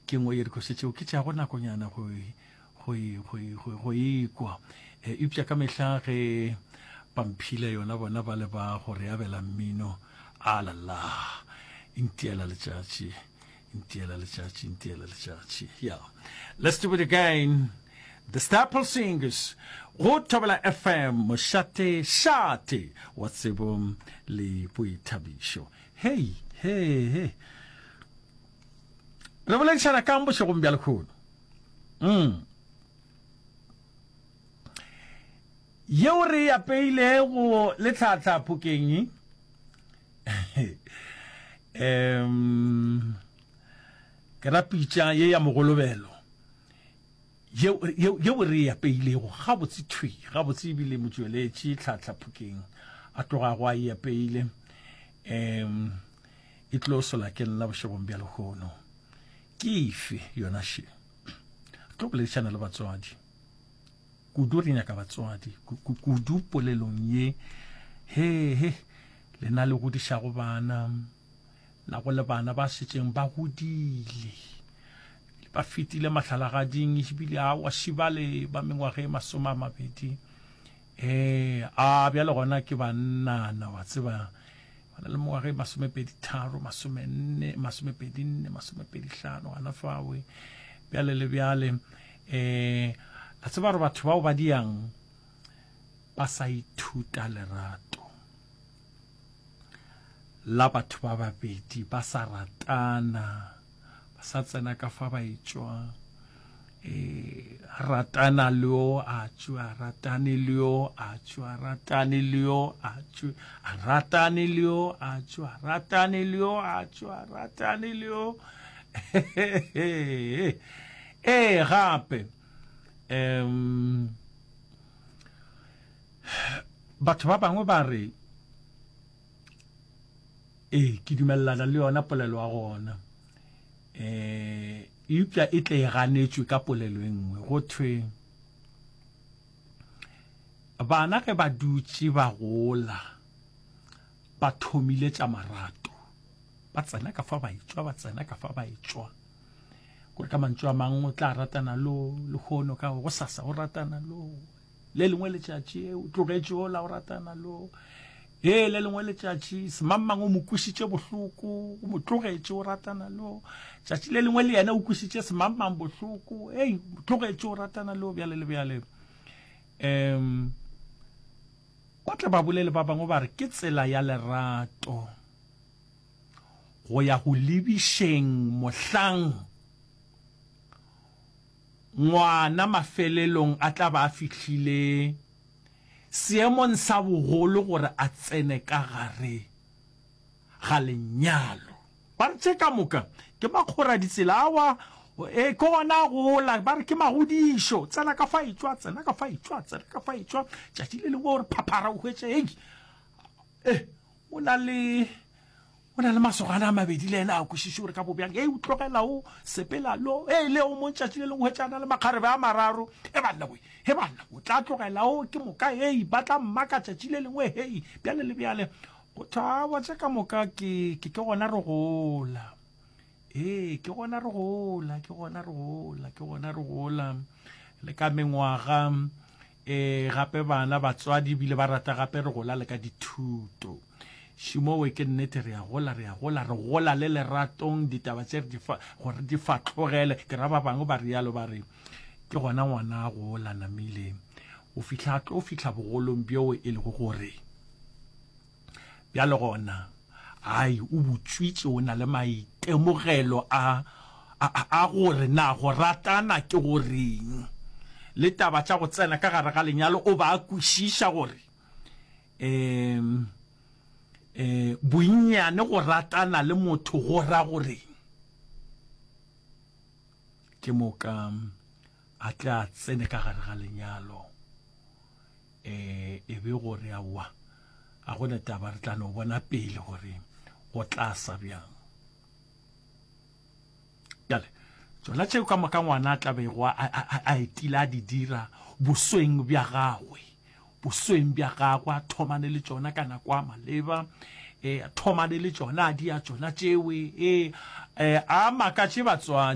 Ke nngwe ya dikoša tšeo ke tšeago nakonyana go go go go go ikwa. E, eupša ka mehla ge ba mphile yona bona ba le ba go re abela mmino a la la ntiela letšatši ntiela letšatši ntiela letšatši yeah let's do it again the staple singers go thobela fm mošate šate wa tsebo le boithabišo hei hey hey re boledišana kang bošegong bja lekgono mm. yeo re e apeilego le tlhatlha phokeng um ke ra pitša ye ya mogolobelo yeo re e apeilego gabotse thwi gabotse ebile motšweletši tlhatlha phokeng a tlogago a e apeile um e tlo sola ke nna bošegong bja lehono ke efe yona še re tlo boledišana le batswadi kudu re nyaka batswadi kudu polelong ye he he lena le godišago bana na go le bana ba šetšeng ba godile ba fetile mahlalagading ebile awa šibale ba mengwaga e masome a mabedi ee a bjale gona ke bannana wa tseba ba na le mengwaga e masomepedi tharo masomenne masomepedi nne masomepedi hlano gana fawe bjale le bjale um la tseba gore batho bao ba diang ba sa ithuta lerato la batho ba babedi ba sa ratana ba sa tsena ka fa ba etšwa e ratana le yo a tšwe a ratane le yo a tšwe a ratane le yo a tšwe a ratane le yo a tšwe a ratane le yo a tšwe a ratane le yo ee gape um batho ba bangwe ba re ee ke dumelelana le yona polelo ya gona um eupša e tle e ganetšwe ka polelo e nngwe go thwe bana ge ba dutše ba gola ba thomile tša marato ba tsena ka fa ba etšwa ba tsena ka fa ba etšwa kore ka mantšu a mangwe o tla ratana lo lehono ka go sasa o ratana lo Le lengwe letšatši o tlogetše ola o ratana lo. Ee, le lengwe letšatši semangmang o mo kwišitše bohloko, o mo tlogetše o ratana lo. Tšatši le lengwe le yena o kwišitše semangmang bohloko, ei, o tlogetše o ratana lo bjale le bjale. Um ba tle ba bolele ba bangwe ba re ke tsela ya lerato go ya go lebišeng mohlang Ngwana mafelelong a tla ba a fihlile seemong sa bogolo gore a tsene ka gare ga lenyalo. Ba re tše ka moka ke makgoraditsela awa, e, ke gona a gola, ba re ke magodišo. Tsena ka fa etšwa, tsena ka fa etšwa, tsena ka fa etšwa. Tšatši le lengwe o re phaphara o hwetše, hei, e, o na le O na le masogana a mabedi le yena a kwešiše gore ka bobjang. Ei, o tlogela o sepela lo. Ei, le o mong tšatši le lengwe hwetša a na le makgarebe a mararo. He banna we, he banna, o tla tlogela o ke moka. Ei, ba tla mmaka tšatši le lengwe. Hei, bjale le bjale. Go thwe aowa tše ka moka ke, ke, ke gona re gola. Ee, ke gona re gola, ke gona re gola, ke gona re gola. Le ka mengwaga, ee, gape bana, batswadi ebile ba rata gape re gola le ka dithuto. Šimowe ke nnete re a gola, re a gola, re gola le leratong, ditaba tše re di fa, gore di fatlogele. Ke ra ba bangwe ba rialo ba re, ke gona ngwana a gola namile, o fihla a tlo fihla bogolong bjo e lego gore bjale gona ai o butšwitše, o na le maitemogelo a, a, a gore na go ratana ke goreng, le taba tša go tsena ka gare ga lenyalo o ba a kwešiša gore um um bonnyane go ratana le motho go ra goreng. Ke moka a tle a tsene ka gare ga lenyalo um e be gore aowa ga go na taba re tla no bona pele gore go tla sa bjang. Bjale, tšona tšeo ka moka ngwana a tla bego a, a, a, a etile a di dira bosweng bja gagwe, bosweng bja gagwe, a thomane le tšona ka nako a maleba, e, a thomane le tšona, a di a tšona tšewe, e, e, a makatše batswadi.